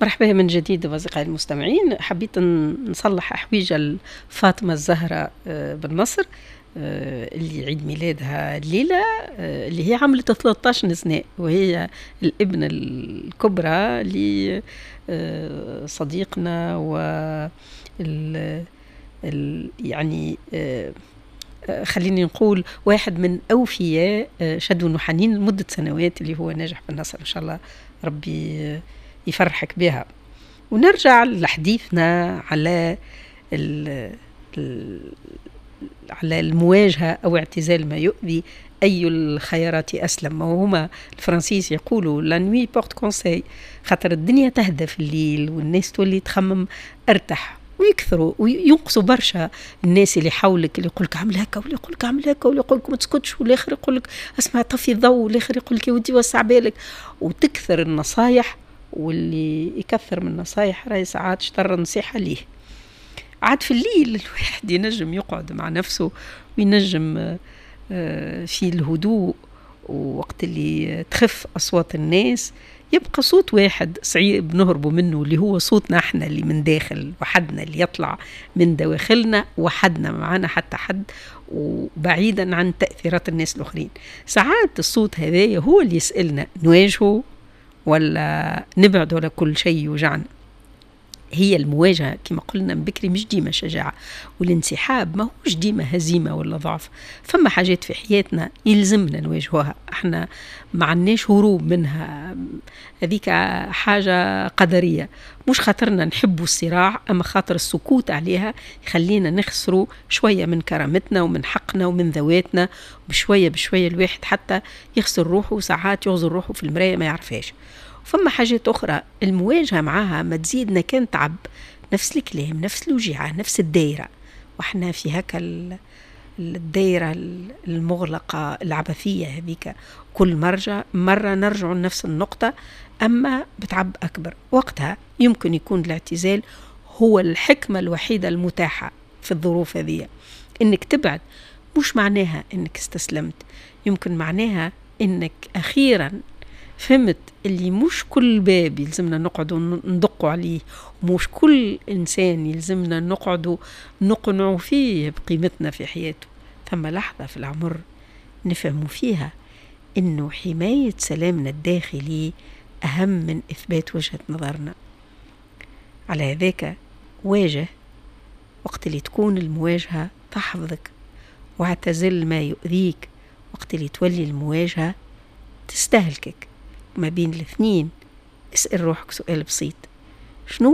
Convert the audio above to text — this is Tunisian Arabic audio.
مرحبا من جديد أصدقائي المستمعين. حبيت نصلح حويجة فاطمة الزهراء بالنصر اللي عيد ميلادها الليلة، اللي هي عملت 13 سنة، وهي الابنة الكبرى لصديقنا و ال ال يعني خليني نقول واحد من أوفياء شدو وحنين لمدة سنوات، اللي هو ناجح بالنصر. إن شاء الله ربي يفرحك بها. ونرجع لحديثنا على المواجهة أو اعتزال ما يؤذي، أي الخيارات أسلم؟ وهما الفرنسيس يقولوا la nuit porte conseil، خاطر الدنيا تهدى في الليل والناس تولي تخمم ارتح، ويكثروا وينقصوا برشا الناس اللي حولك، اللي يقول لك اعمل هكا، واللي يقول لك اعمل هكا، واللي يقول لك ما تسكتش، والاخر يقول لك اسمع طفي الضوء، والاخر يقول لك يا ودي وسع بالك، وتكثر النصايح. واللي يكثر من النصايح راهي ساعات شطر النصيحة ليه. عاد في الليل الواحد ينجم يقعد مع نفسه وينجم في الهدوء، ووقت اللي تخف أصوات الناس يبقى صوت واحد صعيب نهربوا منه، اللي هو صوتنا احنا اللي من داخل وحدنا، اللي يطلع من دواخلنا وحدنا، معانا حتى حد، وبعيدا عن تأثيرات الناس الآخرين. ساعات الصوت هذايا هو اللي يسألنا نواجهه ولا نبعد ولا كل شيء يوجعنا. هي المواجهة كما قلنا من بكري مش ديما شجاعة، والانسحاب ما هوش ديما هزيمة ولا ضعف. فما حاجات في حياتنا يلزمنا نواجهوها، احنا ما عندناش هروب منها، هذيك حاجة قدرية، مش خاطرنا نحبوا الصراع، أما خاطر السكوت عليها يخلينا نخسروا شوية من كرامتنا ومن حقنا ومن ذواتنا. بشوية بشوية الواحد حتى يخسر روحه، وساعات يغزر روحه في المراية ما يعرفهاش. فما حاجات أخرى المواجهة معاها ما تزيدنا كان تعب، نفس الكلام، نفس الوجيعة، نفس الدايرة، واحنا في هكا الدايرة المغلقة العبثية هذيك، كل مرة نرجع لنفس النقطة أما بتعب أكبر. وقتها يمكن يكون الاعتزال هو الحكمة الوحيدة المتاحة في الظروف هذه. إنك تبعد مش معناها إنك استسلمت، يمكن معناها إنك أخيرا فهمت اللي مش كل باب يلزمنا نقعدوا ندقوا عليه، ومش كل إنسان يلزمنا نقعدوا نقنعوا فيه بقيمتنا في حياته. ثم لحظة في العمر نفهم فيها إنه حماية سلامنا الداخلي أهم من إثبات وجهة نظرنا. على هذاك واجه وقت اللي تكون المواجهة تحفظك، واعتزل ما يؤذيك وقت اللي تولي المواجهة تستهلكك. ما بين الاثنين اسأل روحك سؤال بسيط: شنو